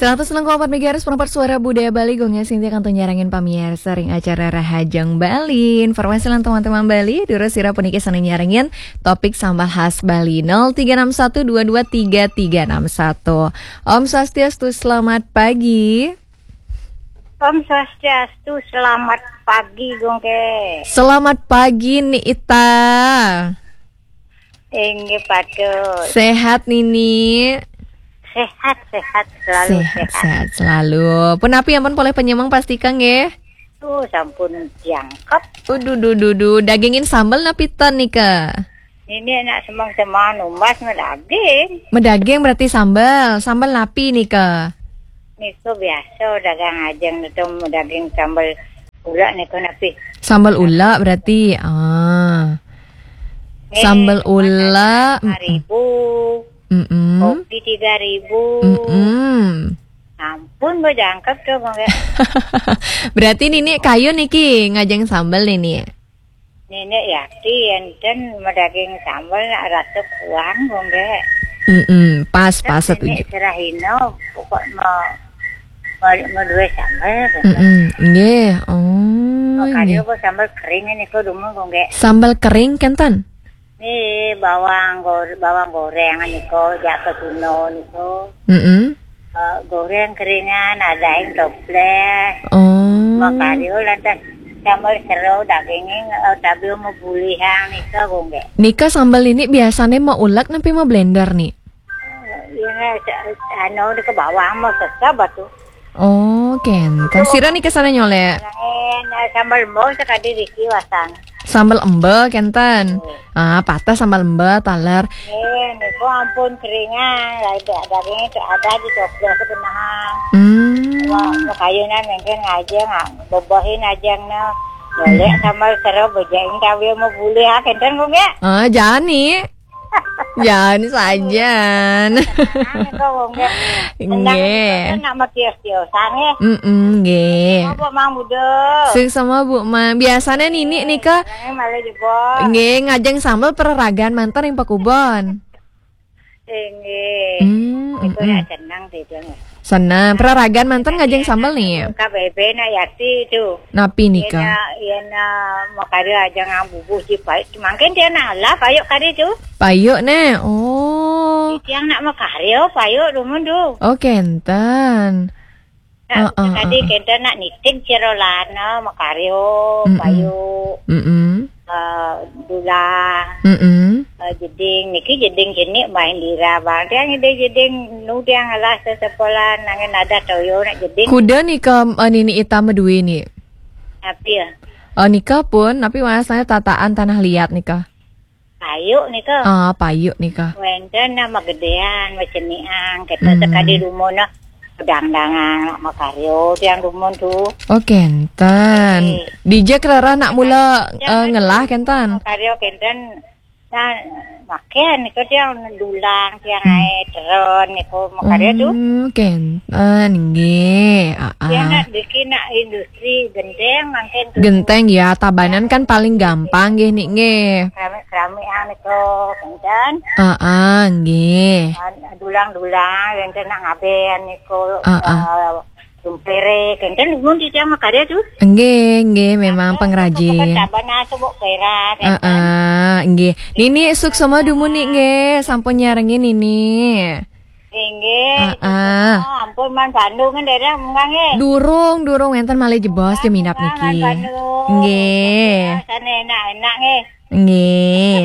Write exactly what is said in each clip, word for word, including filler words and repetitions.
Seratus enam koma empat megahertz, perempat suara budaya Bali, Gung Sintia kantun nyarengin pamiarsa ring acara Rahajeng Bali. Informasi lan teman-teman Bali, durus sira puniki sané nyarengin topik sambel khas Bali, nol tiga enam satu dua dua tiga tiga enam satu. Om Swastiastu, selamat pagi. Om Swastiastu, selamat pagi, Gung Ké. Selamat pagi, Ni Ita. Inggih, patut. Sehat, Nini? Sehat, sehat, selalu sehat, sehat. Sehat selalu. Punapi ampun polih panyemeng pastika nggih? Tuh, sampun jangkep. Uduh, duh, duh, duh. Dagingin sambel napi ten nika? Nini nak semeng-semeng numbas madaging. Madaging berarti sambel. Sambel napi nika? Nika biasa dagang ajeng itu daging sambel ula nika napi? Sambel ula berarti. Ah. Nih, sambel cuman ula. Ada lima ribu. Mm-mm. Kopi tiga ribu. Mm-mm. Ampun, bejangkep tuh, Bang, ya. Berarti Nini kayun niki ngajeng sambel, Nini? Nini Yati, enten madaging sambel nak rasa kuang, Bang, ya. Mm-mm, pas, pas, setuju. Nini Serahino, pokok mau, mau, mau duwe sambel, Bang. Mm-mm, nggih. Oh, nggih. Kok sambel kering ini kok dumun, Bang, ya. Sambel kering, kenten? Nih, bawang gor-, bawang goreng niko, jak ke Cina niko. Mm-mm. Eh, goreng keringan, ada yang toples. Oh. Makario lantas sambal seru, dagingnya, eh, tapi mau bulihang niko, Gung, nggih. Nika sambel ini biasanya mau ulek napi mau blender nih? Ini, anu, di ke bawang mau sesep batu. Oh, kenten. Sira nika sané nyolé? Nah, sambal embe sakadi riki wasan. Sambal embe kenten. Oh. Ah, patah sambal embe taler. Eh, niku ampun keringan, lah itu ada ini, itu ada di toples kenahan. Hmm. Wah, kayunan mungkin aja nggak bobohin aja, nah. Boleh sambal seru, bejain cabai mau bulih, ah, kenten, Gung, ya? Ah, jani. Jangan sajan. Nggih. Nak makios-kiosan, ya. Mm-mm, nggih. Sama, Bu Mang, Budo. Sing sama, Bu Mang. Biasanya Nini nika, eh, malah jebol. Nggih, ngajeng sambel pereragan manten yang pakubon. Inggih. Hmm, niku mm-mm. Ya senang sih, Gung. Senang. Peraragan manten ngajeng sambel nih. K B B nak Yati itu. Napi nika? Iya, iya, nak mau kari aja ngang bubuh si payuk. Mungkin dia nak lah payuk kari tu. Payuk nih. Oh. Tiang nak mau kari, oh, payuk dumun tu. Oh, kenten. Nah, heeh, tadi heeh. Kenten nak nitip ciro lana, mau kari, oh, mm-mm, payuk. Mm-mm. Eh, dulang. Mm-mm. Eh, jeding, niki jeding jenik main dira, Bang. Tiang jeding, jeding nu tiang ngelah sesepolan, nangin ada toyo nak jeding. Kuda nika, eh, Nini Ita madue ni. Tapi ya. Eh, nika pun, tapi masalahnya tataan tanah liat nika. Payuk nika. Ah, payuk nika. Wenten nama gedean, maceniang, kita, mm-mm, sekadi dumun nah. Dangdangan, nak makaryo, tiang dumun tu. Oh, kenten. Eh. Dija kerara nak mula, eh, ngelah kenten. Makaryo kenten. Nah, makan niku tiang dulang, tiang, hmm, ae teron niku makaryo tu. Hmm, kenten nggih. Ah, tiang ah. Nak bikin nak industri genteng mungkin tu. Genteng ya, tabanan kan paling gampang nggih, Nik, nggih. Keramik-keramik ah niku kenten. Ah, ah, nggih. Ah, dulang-dulang, kenten nak ngaben niku, ah, ah, eh, tumpere, kenten dumun titiang makarya tu. Nggih, nggih, memang pengrajin. Bukan taban, ah, subuk perak, kenten. Ah, ah, nggih. Nini suksma dumun, Nik, nggih, sampun nyarengin Nini. Nggih, ah, ah, suksma, ampun, man Bandung kan daerah munggah, nggih. Durung, durung, wenten malih jebos, ah, jeminap munggah, niki. Man Bandung. Nggih. Sana enak-enak, nggih. Nggih.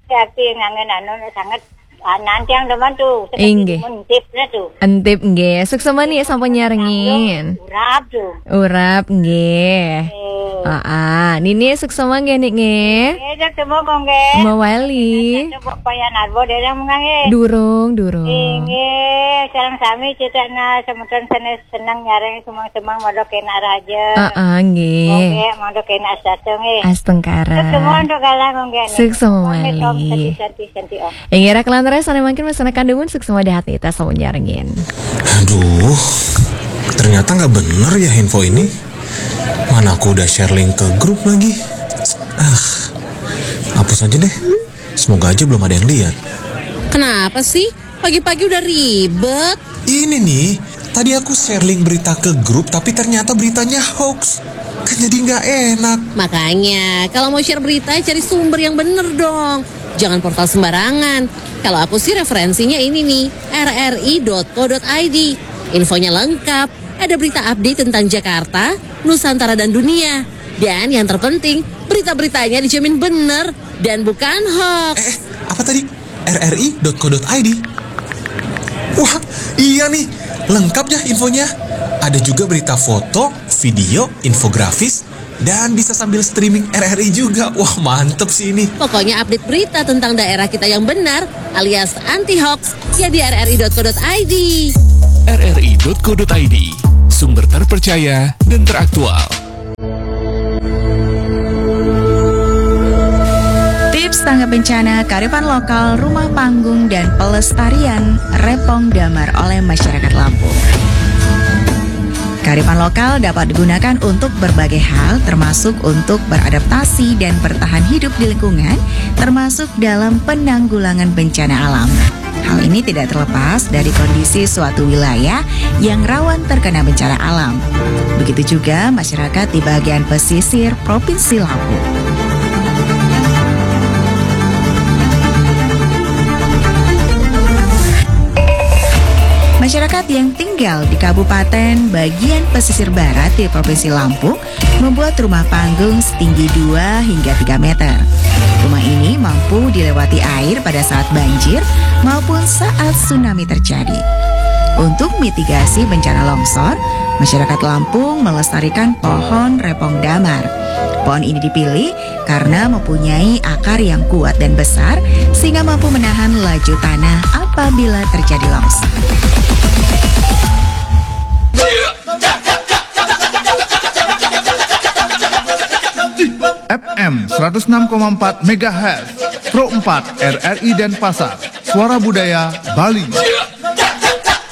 Tapi ngangen anu sangat, ah, nantiang demen tu. Seperti, inggih, mentipnya tu. Entip nggih. Suksma Nik sampun nyarengin. Urap tu. Urap nggih. Eh. Ah, ah. Nini suksma nggih, Nik, nggih. Eh, suksma kok nggih. Mawali. Coba paya narbo daerah munggah nggih. Durung, durung. Inggih, sareng sami cetana semeton sanes seneng nyareng semang-semang modok kena raja. Heeh, nggih. Oke, modok kena satu nggih. Astungkara. Semua untuk galang nggih. Suksma malih. Santi, santi, santi, om. Inggih, rak lantaran sana mungkin masalah kandumun suksma dahat nih tas nyarengin. Aduh, ternyata nggak bener ya info ini. Mana aku udah share link ke grup lagi. Ah, hapus aja deh. Semoga aja belum ada yang lihat. Kenapa sih? Pagi-pagi udah ribet. Ini nih, Tadi aku share link berita ke grup, tapi ternyata beritanya hoax. Kan jadi nggak enak. Makanya, kalau mau share berita, cari sumber yang bener dong. Jangan portal sembarangan. Kalau aku sih referensinya ini nih, rri.co.id. Infonya lengkap, ada berita update tentang Jakarta, Nusantara dan dunia. Dan yang terpenting, berita-beritanya dijamin bener dan bukan hoax. Eh, apa tadi? rri.co.id. Wah, iya nih, lengkap ya infonya. Ada juga berita foto, video, infografis, dan bisa sambil streaming R R I juga. Wah, mantep sih ini. Pokoknya update berita tentang daerah kita yang benar alias anti hoax ya di rri.co.id. rri.co.id, sumber terpercaya dan teraktual. Tips tanggap bencana, kearifan lokal, rumah panggung, dan pelestarian Repong Damar oleh masyarakat Lampung. Kearifan lokal dapat digunakan untuk berbagai hal, termasuk untuk beradaptasi dan bertahan hidup di lingkungan, termasuk dalam penanggulangan bencana alam. Hal ini tidak terlepas dari kondisi suatu wilayah yang rawan terkena bencana alam. Begitu juga masyarakat di bagian pesisir Provinsi Lampung. Masyarakat yang tinggal di kabupaten bagian pesisir barat di Provinsi Lampung membuat rumah panggung setinggi dua hingga tiga meter. Rumah ini mampu dilewati air pada saat banjir maupun saat tsunami terjadi. Untuk mitigasi bencana longsor, masyarakat Lampung melestarikan pohon repong damar. Pohon ini dipilih karena mempunyai akar yang kuat dan besar sehingga mampu menahan laju tanah apabila terjadi longsor. F M seratus enam koma empat megahertz, Pro empat R R I Denpasar, Suara Budaya Bali.